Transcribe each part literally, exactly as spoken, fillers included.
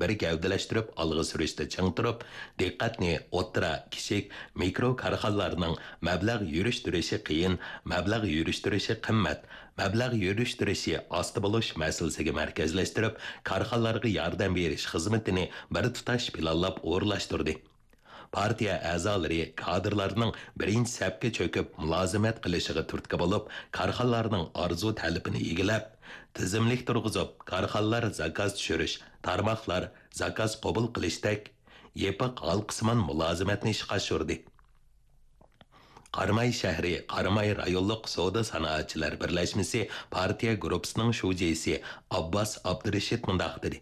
بىر گەۋدىلەشتۈرۈپ ئالغا سۈرۈشتە چىڭ تۇرۇپ، دىققەتنى ئوتتۇرا، كىچىك، مىكرو كارخانىلارنىڭ مەبلەغ يۈرۈشتۈرۈشى قىيىن، مەبلەغ يۈرۈشتۈرۈشى قىممەت، مەبلەغ يۈرۈشتۈرۈشى ئاستا بولۇش مەسىلىسىگە مەركەزلەشتۈرۈپ، كارخانىلارغا ياردەم بېرىش خىزمىتىنى بىر تۇتاش پىلانلاپ ئورۇنلاشتۇردى. پارتىيە ئەزالىرى، كادىرلارنىڭ بىرىنچى سەپكە چۆكۈپ مۇلازىمەت قىلىشىغا تۈرتكە بولۇپ، كارخانىلارنىڭ ئارزۇ تەلىپىنى ئىگىلەپ، تىزىملىك تۇرغۇزۇپ، كارخانىلار زاكاز چۈشۈرۈش، تارماقلار زاكاز قوبۇل قىلىشتەك يېپىق ھالقىسىمان مۇلازىمەتنى ئىشقا ئاشۇردى. قاراماي شەھىرى قاراماي رايونلۇق سودا سانائەتچىلەر بىرلەشمىسى پارتىيە گۇرۇپپىسىنىڭ شۇجىسى ئابباس ئابدۇرېشىت مۇنداق دېدى: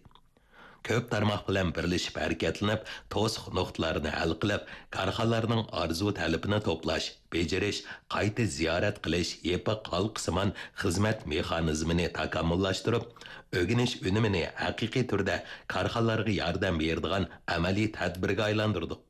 كۆپ تارماق بىلەن بىرلىشىپ ھەرىكەتلىنىپ، توسۇق نۇقتىلارنى ھەل قىلىپ، كارخانىلارنىڭ ئارزۇ تەلىپىنى توپلاش، بېجىرىش، قايتا زىيارەت قىلىش يېپىق ھالقىسىمان خىزمەت مېخانىزمىنى تاكامۇللاشتۇرۇپ، ئۆگىنىش ئۈنۈمىنى ھەقىقىي تۈردە كارخانىلارغا ياردەم بېرىدىغان ئەمەلىي تەدبىرگە ئايلاندۇردۇق.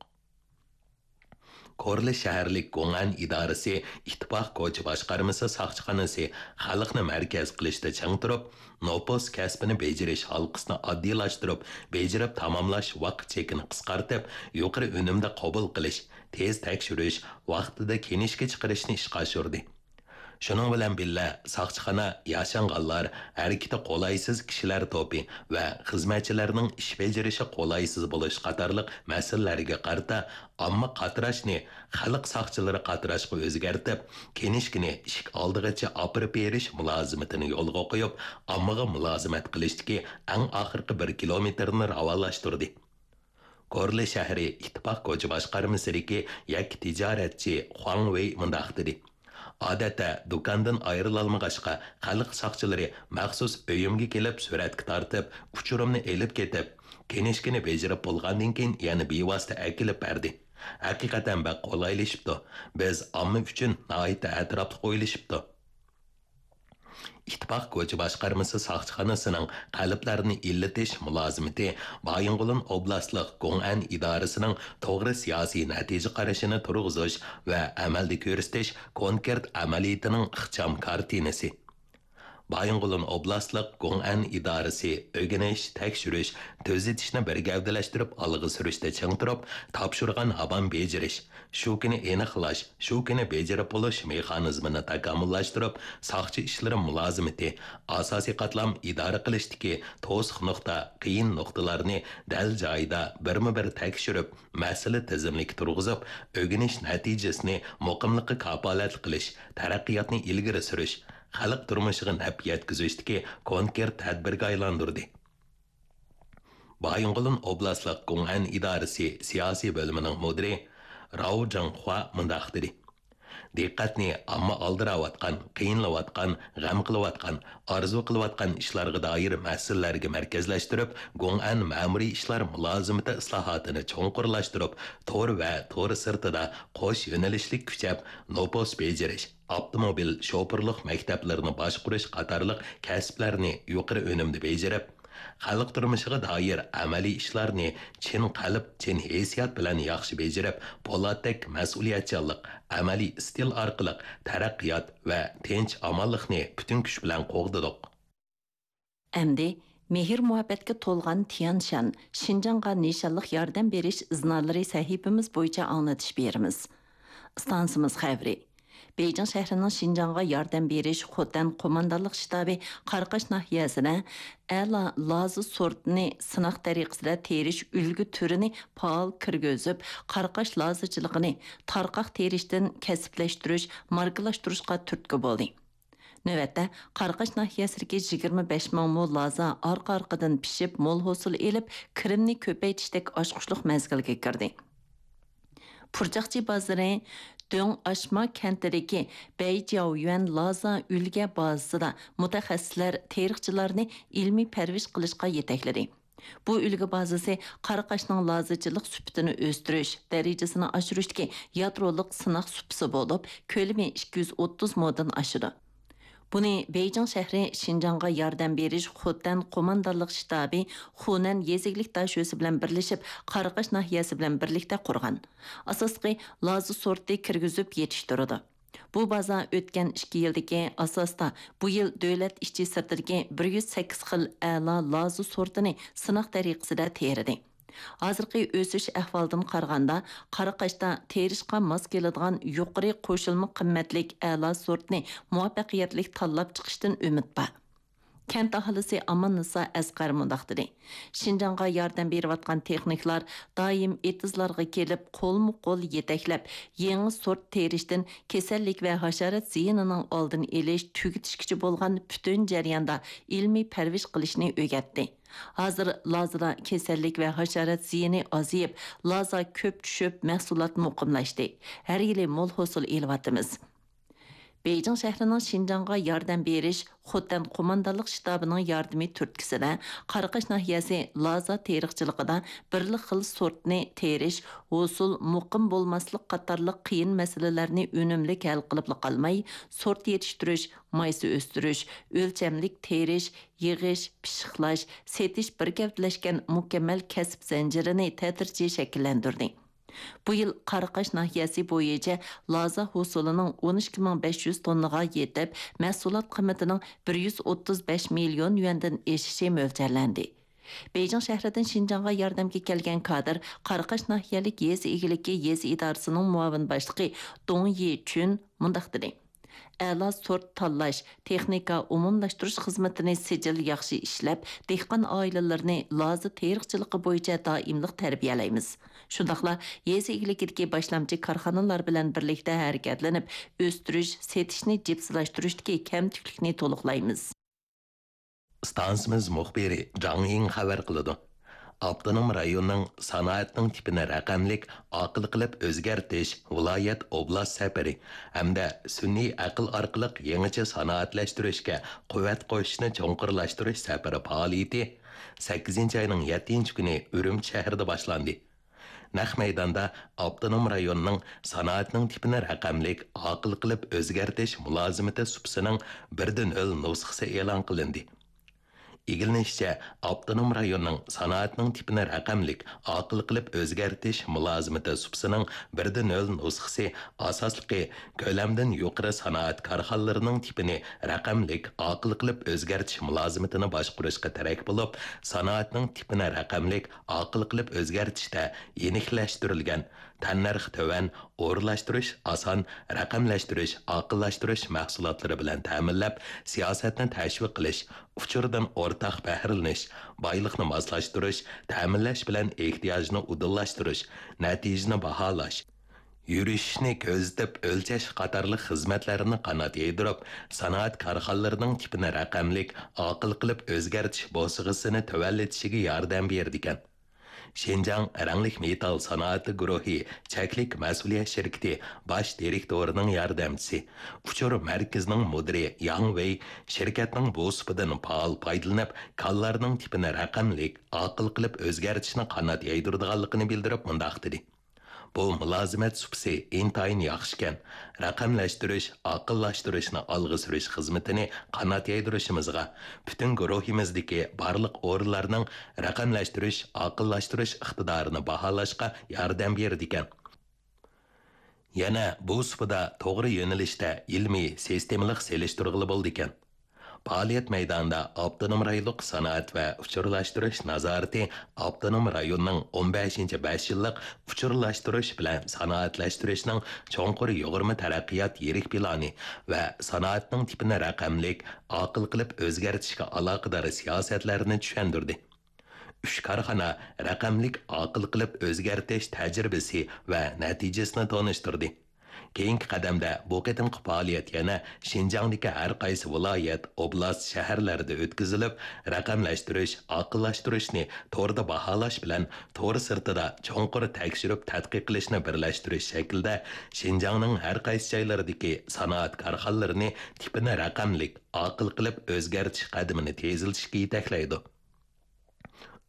كورلا شەھەرلىك گوڭئەن ئىدارىسى ئىتتىپاق كوچا باشقارمىسى ساقچىخانىسى خەلقنى مەركەز قىلىشتا چىڭ تۇرۇپ، نوپۇس كەسپىنى بېجىرىش ھالقىسىنى ئاددىيلاشتۇرۇپ، بېجىرىپ تاماملاش ۋاقىت چېكىنى قىسقارتىپ، يۇقىرى ئۈنۈمدە قوبۇل قىلىش، تېز تەكشۈرۈش، ۋاقتىدا كىنىشكا چىقىرىشنى ئىشقا ئاشۇردى. شۇنىڭ بىلەن بىللە، ساقچىخانا ياشانغانلار، ھەرىكىتى قولايسىز كىشىلەر توپى ۋە خىزمەتچىلەرنىڭ ئىش بېجىرىشى قولايسىز بولۇش قاتارلىق مەسىلىلەرگە قارىتا ئامما قاتراشنى خەلق ساقچىلىرى قاتراشقا ئۆزگەرتىپ، كىنىشكىنى ئىشىك ئالدىغىچە ئاپىرىپ بېرىش مۇلازىمىتىنى يولغا قويۇپ، ئاممىغا مۇلازىمەت قىلىشتىكى ئەڭ ئاخىرقى بىر كىلومېتىرنى راۋانلاشتۇردى. كورلا شەھىرى ئىتتىپاق كوچا باشقارمىسىدىكى يەككە تىجارەتچى خۇاڭ ۋېي مۇنداق دېدى: ئادەتتە دۇكاندىن ئايرىلالمىغاچقا، خەلق ساقچىلىرى مەخسۇس ئۆيۈمگە كېلىپ سۈرەتكە تارتىپ، ئۇچۇرۇمنى ئېلىپ كېتىپ، كىنىشكىنى بېجىرىپ بولغاندىن كېيىن يەنە بىۋاسىتە ئەكېلىپ بەردى. ھەقىقەتەن بەك قولايلىشىپتۇ. بىز ئامما ئۈچۈن ناھايىتى ئەتراپلىق ئويلىشىپتۇ. ئىتتىپاق كوچا باشقارمىسى ساقچىخانىسىنىڭ قەلبلەرنى ئىللىتىش مۇلازىمىتى بايىنغولىن ئوبلاستلىق گوڭئەن ئىدارىسىنىڭ توغرا سىياسىي نەتىجە قارىشىنى تۇرغۇزۇش ۋە ئەمەلدە كۆرسىتىش كونكرېت ئەمەلىيىتىنىڭ ئىخچام كارتىنىسى. بايىنغولىن ئوبلاستلىق گوڭئەن ئىدارىسى ئۆگىنىش، تەكشۈرۈش، تۈزىتىشنى بىر گەۋدىلەشتۈرۈپ ئالغا سۈرۈشتە چىڭ تۇرۇپ، تاپشۇرغان ھامان بېجىرىش، شۇ كۈنى ئېنىقلاش، شۇ كۈنى بېجىرىپ بولۇش مېخانىزمىنى تاكامۇللاشتۇرۇپ، ساقچى ئىشلىرى مۇلازىمىتى، ئاساسىي قاتلام ئىدارە قىلىشتىكى توسۇق نۇقتا، قىيىن نۇقتىلارنى دەل جايىدا بىرمۇ بىر تەكشۈرۈپ، مەسىلە تىزىملىكى تۇرغۇزۇپ، ئۆگىنىش نەتىجىسىنى مۇقىملىققا كاپالەتلىك قىلىش، تەرەققىياتنى ئىلگىرى سۈرۈش، خەلق تۇرمۇشىغا نەپ يەتكۈزۈشتىكى كونكرېت تەدبىرگە ئايلاندۇردى. بايىنغولىن ئوبلاستلىق گوڭئەن ئىدارىسى سىياسىي بۆلۈمىنىڭ مۇدىرى راۋ جاڭخۇا مۇنداق دېدى: دىققەتنى ئامما ئالدىراۋاتقان، قىينىلىۋاتقان، غەم قىلىۋاتقان، ئارزۇ قىلىۋاتقان ئىشلارغا دائىر مەسىلىلەرگە مەركەزلەشتۈرۈپ، گوڭئەن مەمۇرىي ئىشلار مۇلازىمىتى ئىسلاھاتىنى چوڭقۇرلاشتۇرۇپ، تور ۋە تور سىرتىدا قوش يۆنىلىشلىك كۈچەپ، نوپۇس بېجىرىش، ئاپتوموبىل شوپۇرلۇق مەكتەپلىرىنى باشقۇرۇش قاتارلىق كەسىپلەرنى يۇقىرى ئۈنۈمدە بېجىرىپ، خەلق تۇرمۇشىغا دائىر ئەمەلىي ئىشلارنى چىن قەلب، چىن ھېسسىيات بىلەن ياخشى بېجىرىپ، پولاتتەك مەسئۇلىيەتچانلىق، ئەمەلىي ئىستىل ئارقىلىق تەرەققىيات ۋە تىنچ-ئامانلىقنى پۈتۈن كۈچ بىلەن قوغدىدۇق. ئەمدى مېھىر-مۇھەببەتكە تولغان تيەنشان، شىنجاڭغا نىشانلىق ياردەم بېرىش ئىزنالىرى سەھىپىمىز بويىچە ئاڭلىتىش بېرىمىز. ئىستانسىمىز خەۋىرى. بېيجىڭ شەھىرىنىڭ شىنجاڭغا ياردەم بېرىش خوتەن قوماندانلىق شتابى قاراقاش ناھىيەسىدە ئەلا لازا سورتىنى سىناق تەرىقىسىدە تېرىش ئۈلگە تۈرىنى پائال كىرگۈزۈپ، قاراقاش لازىچىلىقىنى تارقاق تېرىشتىن كەسىپلەشتۈرۈش، ماركىلاشتۇرۇشقا تۈرتكە بولدى. نۆۋەتتە، قاراقاش ناھىيەسىدىكى يىگىرمە بەش مىڭ مو لازا ئارقا-ئارقىدىن پىشىپ، مول ھوسۇل ئېلىپ، كىرىمنى كۆپەيتىشتەك ئاچقۇچلۇق مەزگىلگە كىردى. پۇرچاقچى بازىرى دۆڭ ئاشما كەنتىدىكى بەيجياۋيۈەن لازا ئۈلگە بازىسىدا مۇتەخەسسىسلەر تېرىقچىلارنى ئىلمىي پەرۋىش قىلىشقا يېتەكلىدى. بۇ ئۈلگە بازىسى قاراقاشنىڭ لازىچىلىق سۈپىتىنى ئۆستۈرۈش، دەرىجىسىنى ئاشۇرۇشتىكى يادرولۇق سىناق سۇپىسى بولۇپ، كۆلىمى ئىككى يۈز ئوتتۇز مودىن ئاشىدۇ. بۇنى بېيجىڭ شەھىرى شىنجاڭغا ياردەم بېرىش خوتەن قوماندانلىق شتابى خۇنەن يېزا ئىگىلىك داشۆسى بىلەن بىرلىشىپ، قاراقاش ناھىيەسى بىلەن بىرلىكتە قۇرغان. ئاساسلىقى لازا سورتى كىرگۈزۈپ يېتىشتۈرىدۇ. بۇ بازا ئۆتكەن ئىككى يىلدىكى ئاساستا بۇ يىل دۆلەت ئىچى سىرتىدىكى بىر يۈز سەككىز خىل ئەلا لازا سورتىنى سىناق تەرىقىسىدە تېرىدى. ھازىرقى ئۆسۈش ئەھۋالىدىن قارىغاندا، قاراقاشتا تېرىشقا ماس كېلىدىغان يۇقىرى قوشۇلما قىممەتلىك ئەلا سورتنى مۇۋەپپەقىيەتلىك تاللاپ چىقىشتىن ئۈمىد بار. كەنت ئاھالىسى ئاماننىسا ئەسقەر مۇنداق دېدى: شىنجاڭغا ياردەم بېرىۋاتقان تېخنىكلار دائىم ئېتىزلارغا كېلىپ، قولمۇ قول يېتەكلەپ، يېڭى سورت تېرىشتىن كېسەللىك ۋە ھاشارات زىيىنىنىڭ ئالدىنى ئېلىش، تۈگىتىشكىچە بولغان پۈتۈن جەرياندا ئىلمىي پەرۋىش قىلىشنى ئۆگەتتى. ھازىر لازىدا كېسەللىك ۋە ھاشارات زىيىنى ئازىيىپ، لازا كۆپ چۈشۈپ، مەھسۇلات مۇقىملاشتى. ھەر يىلى مول ھوسۇل ئېلىۋاتىمىز. بېيجىڭ شەھىرىنىڭ شىنجاڭغا ياردەم بېرىش خوتەن قوماندانلىق شتابىنىڭ ياردىمى تۈرتكىسىدە، قاراقاش ناھىيەسى لازا تېرىقچىلىقىدا بىرلا خىل سورتنى تېرىش، ھوسۇل، مۇقىم بولماسلىق قاتارلىق قىيىن مەسىلىلەرنى ئۈنۈملۈك ھەل قىلىپلا قالماي، سورت يېتىشتۈرۈش، مايسا ئۆستۈرۈش، ئۆلچەملىك تېرىش، يىغىش، پىششىقلاش، سېتىش بىر گەۋدىلەشكەن مۇكەممەل كەسىپ زەنجىرىنى تەدرىجىي شەكىللەندۈردى. بۇ يىل قاراقاش ناھىيەسى بويىچە لازا ھوسۇلىنىڭ ئون ئىككى مىڭ بەش يۈز توننىغا يېتىپ، مەھسۇلات قىممىتىنىڭ بىر يۈز ئوتتۇز بەش مىليون يۈەندىن ئېشىشى مۆلچەرلەندى. بېيجىڭ شەھىرىدىن شىنجاڭغا ياردەمگە كەلگەن كادىر قاراقاش ناھىيەلىك يېزا ئىگىلىكى يېزا ئىدارىسىنىڭ مۇئاۋىن باشلىقى دۇڭ يىچۈن مۇنداق دېدى: ئەلا سورت تاللاش، تېخنىكا ئومۇملاشتۇرۇش خىزمىتىنى سىجىل ياخشى ئىشلەپ، دېھقان ئائىلىلىرىنى لازا تېرىقچىلىقى بويىچە دائىملىق تەربىيەلەيمىز. شۇنداقلا يېزا ئىگىلىكىدىكى باشلامچى كارخانىلار بىلەن بىرلىكتە ھەرىكەتلىنىپ، ئۆستۈرۈش، سېتىشنى جىپسىلاشتۇرۇشتىكى كەمتۈكلۈكنى تولۇقلايمىز. ئىستانسىمىز مۇخبىرى جاڭ يىڭ خەۋەر قىلىدۇ. ئاپتونوم رايوننىڭ سانائەتنىڭ تىپىنى رەقەملىك، ئاقىل قىلىپ ئۆزگەرتىش ۋىلايەت ئوبلاست سەپىرى ھەمدە سۈنئىي ئەقىل ئارقىلىق يېڭىچە سانائەتلەشتۈرۈشكە قۇۋۋەت قوشۇشنى چوڭقۇرلاشتۇرۇش سەپىرى پائالىيىتى سەككىزىنچى ئاينىڭ يەتتىنچى كۈنى ئۈرۈمچى شەھىرىدە باشلاندى. نەق مەيداندا ئاپتونوم رايوننىڭ سانائەتنىڭ تىپىنى رەقەملىك، ئاقىل قىلىپ ئۆزگەرتىش مۇلازىمىتى سۇپىسىنىڭ بىردىن ھۆل نۇسخىسى ئېلان قىلىندى. ئىگىلىنىشىچە، ئاپتونوم رايوننىڭ سانائەتنىڭ تىپىنى رەقەملىك، ئاقىل قىلىپ ئۆزگەرتىش مۇلازىمىتى سۇپىسىنىڭ بىردىن ھۆل نۇسخىسى ئاساسلىقى كۆلەمدىن يۇقىرى سانائەت كارخانىلىرىنىڭ تىپىنى رەقەملىك، ئاقىل قىلىپ ئۆزگەرتىش مۇلازىمىتىنى باشقۇرۇشقا تىرەك بولۇپ، سانائەتنىڭ تىپىنى رەقەملىك، ئاقىل قىلىپ ئۆزگەرتىشتە يېنىكلەشتۈرۈلگەن، تەننەرخى تۆۋەن، ئورۇنلاشتۇرۇش ئاسان، رەقەملەشتۈرۈش، ئاقىللاشتۇرۇش مەھسۇلاتلىرى بىلەن تەمىنلەپ، سىياسەتنى تەشۋىق قىلىش، ئۇچۇردىن ئورتاق بەھرىلىنىش، بايلىقنى ماسلاشتۇرۇش، تەمىنلەش بىلەن ئېھتىياجنى ئۇدۇللاشتۇرۇش، نەتىجىنى باھالاش، يۈرۈشۈشنى كۆزىتىپ ئۆلچەش قاتارلىق خىزمەتلەرنى قانات يايدۇرۇپ، سانائەت كارخانىلىرىنىڭ تىپىنى رەقەملىك، ئاقىل قىلىپ ئۆزگەرتىش بوسىغىسىنى تۆۋەنلىتىشىگە ياردەم بېرىدىكەن. شىنجاڭ رەڭلىك مېتال سانائىتى گۇرۇھى چەكلىك مەسئۇلىيەت شىركىتى باش دىرېكتورىنىڭ ياردەمچىسى، ئۇچۇر مەركىزىنىڭ مۇدىرى ياڭ ۋېي شىركەتنىڭ بۇ سۇپىدىن پائال پايدىلىنىپ، كانلارنىڭ تىپىنى رەقەملىك، ئاقىل قىلىپ ئۆزگەرتىشنى قانات يايدۇرىدىغانلىقىنى بىلدۈرۈپ مۇنداق دېدى: بۇ مۇلازىمەت سۇپىسى ئىنتايىن ياخشىكەن. رەقەملەشتۈرۈش، ئاقىللاشتۇرۇشنى ئالغا سۈرۈش خىزمىتىنى قانات يايدۇرۇشىمىزغا، پۈتۈن گۇرۇھىمىزدىكى بارلىق ئورۇنلارنىڭ رەقەملەشتۈرۈش، ئاقىللاشتۇرۇش ئىقتىدارىنى باھالاشقا ياردەم بېرىدىكەن. يەنە بۇ سۇپىدا توغرا يۆنىلىشتە ئىلمىي، سىستېمىلىق سېلىشتۇرغىلى بولىدىكەن. پائالىيەت مەيدانىدا ئاپتونوم رايونلۇق سانائەت ۋە ئۇچۇرلاشتۇرۇش نازارىتى ئاپتونوم رايوننىڭ ئون بەشىنچى بەش يىللىق ئۇچۇرلاشتۇرۇش بىلەن سانائەتلەشتۈرۈشنىڭ چوڭقۇر يۇغۇرما تەرەققىيات يىرىك پىلانى ۋە سانائەتنىڭ تىپىنى رەقەملىك، ئاقىل قىلىپ ئۆزگەرتىشكە ئالاقىدار سىياسەتلەرنى چۈشەندۈردى. ئۈچ كارخانا رەقەملىك ئاقىل قىلىپ ئۆزگەرتىش تەجرىبىسى ۋە نەتىجىسىنى تونۇشتۇردى. كېيىنكى قەدەمدە بۇ قېتىمقى پائالىيەت يەنە شىنجاڭدىكى ھەر قايسى ۋىلايەت، ئوبلاست، شەھەرلەردە ئۆتكۈزۈلۈپ، رەقەملەشتۈرۈش، ئاقىللاشتۇرۇشنى توردا باھالاش بىلەن تور سىرتىدا چوڭقۇر تەكشۈرۈپ تەتقىق قىلىشنى بىرلەشتۈرۈش شەكلىدە شىنجاڭنىڭ ھەر قايسى جايلىرىدىكى سانائەت كارخانىلىرىنى تىپىنى رەقەملىك، ئاقىل قىلىپ ئۆزگەرتىش قەدىمىنى تېزلىتىشكە يېتەكلەيدۇ.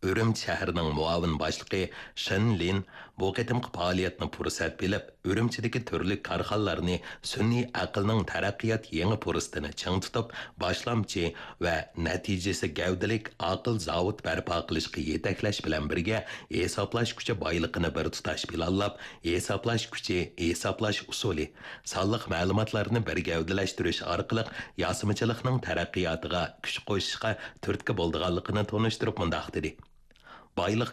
ئۈرۈمچى شەھىرىنىڭ مۇئاۋىن باشلىقى شېن لىن بۇ قېتىمقى پائالىيەتنى پۇرسەت بىلىپ، ئۈرۈمچىدىكى تۈرلۈك كارخانىلارنى سۈنئىي ئەقىلنىڭ تەرەققىيات يېڭى پۇرسىتىنى چىڭ تۇتۇپ، باشلامچى ۋە نەتىجىسى گەۋدىلىك ئاقىل زاۋۇت بەرپا قىلىشقا يېتەكلەش بىلەن بىرگە، ھېسابلاش كۈچى بايلىقىنى بىر تۇتاش پىلانلاپ، ھېسابلاش كۈچى، ھېسابلاش ئۇسۇلى، سانلىق مەلۇماتلارنى بىر گەۋدىلەشتۈرۈش ئارقىلىق ياسىمىچىلىقنىڭ تەرەققىياتىغا كۈچ قوشۇشقا تۈرتكە بولىدىغانلىقىنى تونۇشتۇرۇپ مۇنداق دېدى: بايلىق